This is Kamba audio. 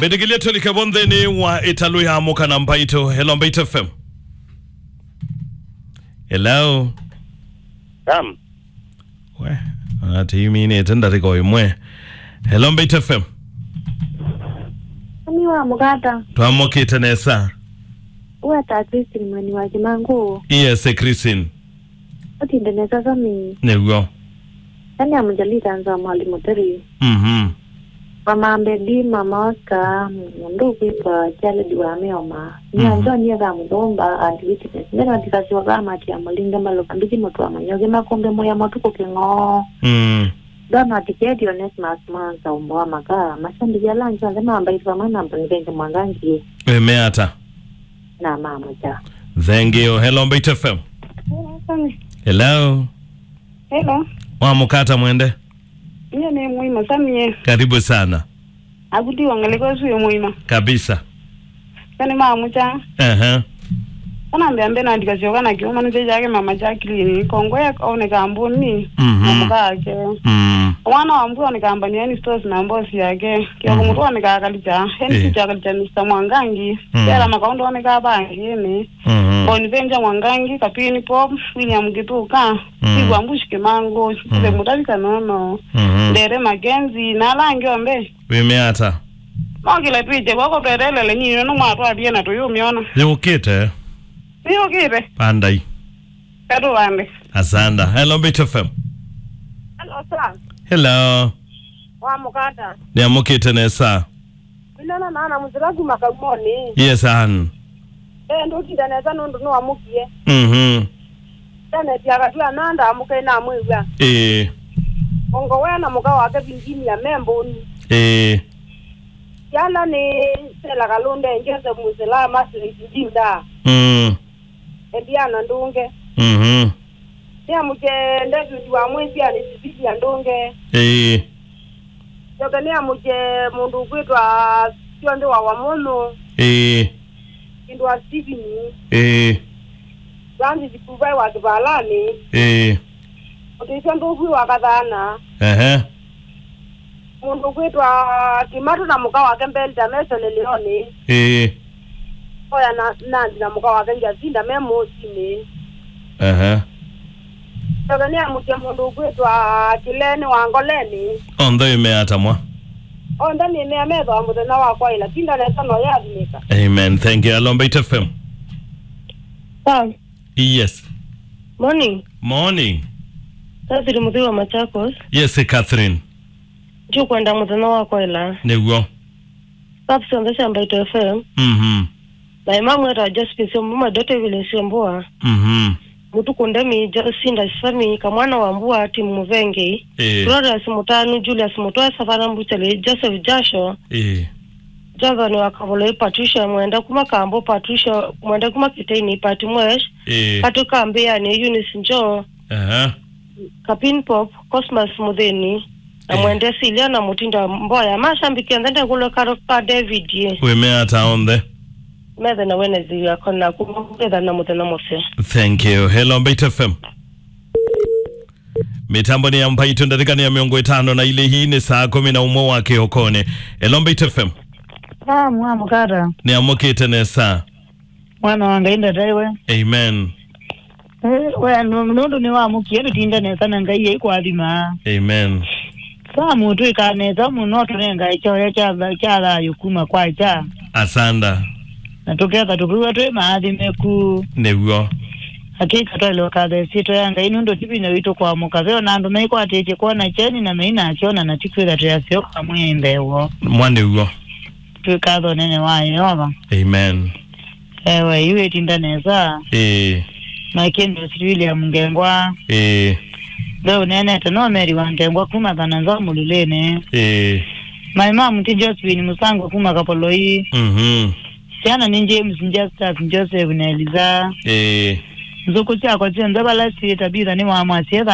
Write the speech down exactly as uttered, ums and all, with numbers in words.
Ĩtĩkĩlya tũlike vo nthĩnĩ wa ĩtalũ ya Amũka na Mbaitũ. Hello, Mbaitũ F M. Hello. Sam. We, ona tũiminĩte ndatĩka o ĩmwe. Hello, Mbaitũ F M. Mami wa Mũkata. Twamũkĩte nesa. Ũweta Christine Mweni wa Kĩmangũ. Yes, Christine. Ũtinde nesa Sami. Nĩw'o. Nani amũjalita nza Mwalimũ Terry. Mhm. Mama Mbedi, Mama Oscar, mũndũ ũkwĩtwa Charles wa Mĩoma. Nia Mhm. John yetha mũthũmba, Aunt Witness. Mbena ndikasyoka amati ya mũlinga maloka mbithi mũtwa manyoke makombe mũya matukũ kĩng'oo. Mm. Donald Kedi, Onesmus Mwanza, Umbo wa Maka, mashabiki ala angĩ onthe mambaitwa mana mbonivenge mwangangi. Ĩmeata. Na mama cha. Thank you. Hello, Mbaitũ F M. Hello. Hello. Wa Mũkata mwende. Niye nĩ mũima Samie. Karibu sana. Akuti wangaleko su mũima. Kabisa. Kani mama cha. Ehe. Kana mbea mbena ndikasyoka na kiuma nĩ chake mama cha kilini. Kongo ya one kambuni. Mhm. Na mũka wake. Mm. Mwana wa mbua one kambani yani stores na boss yake. Kio Mhm. kumutwa one kakalicha. Heni Eh. Kicha kalicha Mister Mwangangi. Mm. Yala makaondo one kabangini. Mhm. Bonivenja Mwangangi, Kapini Pop, William Githuka, Mm. Sigwa Mbushi Kimangu, Stephen Mm. Mutavi Kanono, Mhm. Ndere Makenzi, na ala angĩ onthe. Wĩmeata? Mokĩla twĩte kwako twetelele nini no mwatwathie na tũyũmyona. Yũkĩte. Nĩyũkĩte. Pandai. Katũvande. Asanda. Hello, Mbaitũ F M. Hello, sir. Hello. Wa Mũkata. Nĩamũkĩte nesa. Nĩnona nana mũsila kuma Kaumoni. Yes, an. Eh, ndũtinda nesa nũndũ nĩwamũkie. Mhm. Janet akatw'a na ndamũke namwĩw'a. Ĩĩ. Ongo wea na mũka wake Virginia me mbũni. Ĩĩ. Syana nĩ Stella Kalunde, Joseph Mũsila, Margaret Ndinda. Mm. Eliana Ndunge. Mhm. Nĩamũkye David wa Mwĩsianĩ, Cecilia Ndunge. Ĩĩ. Njoke nĩamũkye mũndũ ũkwĩtwa Syonthe wa Wamũnũ. Ĩĩ. Kindu wa Stephen. Ĩĩ. Francis Kuvai wa Kĩvalani. Ĩĩ. Mũtĩsyo Ndũvwi wa Kathana. Ehe. Mũndũ ũkwĩtwa Kimatu na mũka wake Mbelita me Seneleoni. Ĩĩ. Oya na Nandi na mũka wake Jacinta me Mũsinĩ. Ehe. Njoke nĩamũkye mũndũ ũkwĩtwa Kĩleni wa Ngoleni. Onthe ĩmeata mwa. Onthe nĩmea metho wa mũthenya wa kwaĩla. Tinda nesa no yathimĩka. Amen. Thank you. Hello, Mbaitũ F M. Sam. Yes. Morning. Morning. Catherine Muthĩ wa Machakos. Yes, Catherine. Ndiũkwenda mũthenya wa kwaĩla. Nĩw'o. Staff syonthe sya Mbaitũ F M. Mhm. Na ĩmamweta Josephine Syombo, Madota Evelyn Syomboa. Mhm. Mũtuku Ndemi, Josinda Sami, Kamwana wa Mbua, Tim Mũvengei, Ĩĩ. Glorious Mũtanu, Julius Mũtwe, Savana Mbuchali, Joseph Jasho, Ĩĩ. Jonathan wa Kavoloi, Patricia Mwenda kuma Kambo, Patricia Mwenda kuma Kiteini, Pati Mwesh, Ĩĩ. Katũ ka Mbĩanĩ, Eunice Njo, Aha. Kapin Pop, Cosmas Mũthĩni, na Ĩĩ. Mwende Silia na Mũtinda Mboya. Mashabiki onthe ndekũlwe karo ka David ye. Wĩmeata onthe. Methe na Wednesday yako na kumwetha na mũthenya mũseo. Thank you. Hello, Mbaitũ F M. Mĩtambo nĩ ya Mbaitũ, ndatĩka nĩ ya mĩongo ĩtano na ilĩ, hii nĩ saa kũmi na ũmwe wa kĩokonĩ. Hello, Mbaitũ F M. Ah, mwa Mũkata. Nĩamũkĩte nesa. Mwana wa Ngai ndataiwe. Amen. Eh, we, nũ-, nũndũ nĩwamũkie tũtinde nesa na Ngai aikwathima. Amen. Samu twĩkaa nesa mũno tũnengae kyoya kya tha-, kya thayũ kuma kwa kya. Asanda. Na tũketha tũkwĩw'a twĩ maathĩmĩku. Nĩw'o. Hakika twaĩle ũkatha ĩsyĩtwa ya Ngai nũndũ ti vinya witũ kwamũka. Ve ona andũ maikwatĩtye kwona kyeni na meinakyona na ti kwĩtha twĩ aseo kwa mwĩai mbee woo. Mwa nĩw'o. Twĩkatha ũnene wa Yeova. Amen. Ewe, yu ĩtinda nesa. Ĩĩ. Makĩndũsi William Ngengwa. Ĩĩ. Ve ũneenete no Mary wa Ngengwa kuma Thana Nzau Mũlilĩnĩ. Ĩĩ. Maĩ ma mũtĩ Josephine Mũsangwa kuma Kapoloi. Mhm. Syana nĩ James, Justus, Joseph na Eliza. Ĩĩ. Nzũkũ syakwa syonthe vala syĩ Tabitha nĩ wa mwasye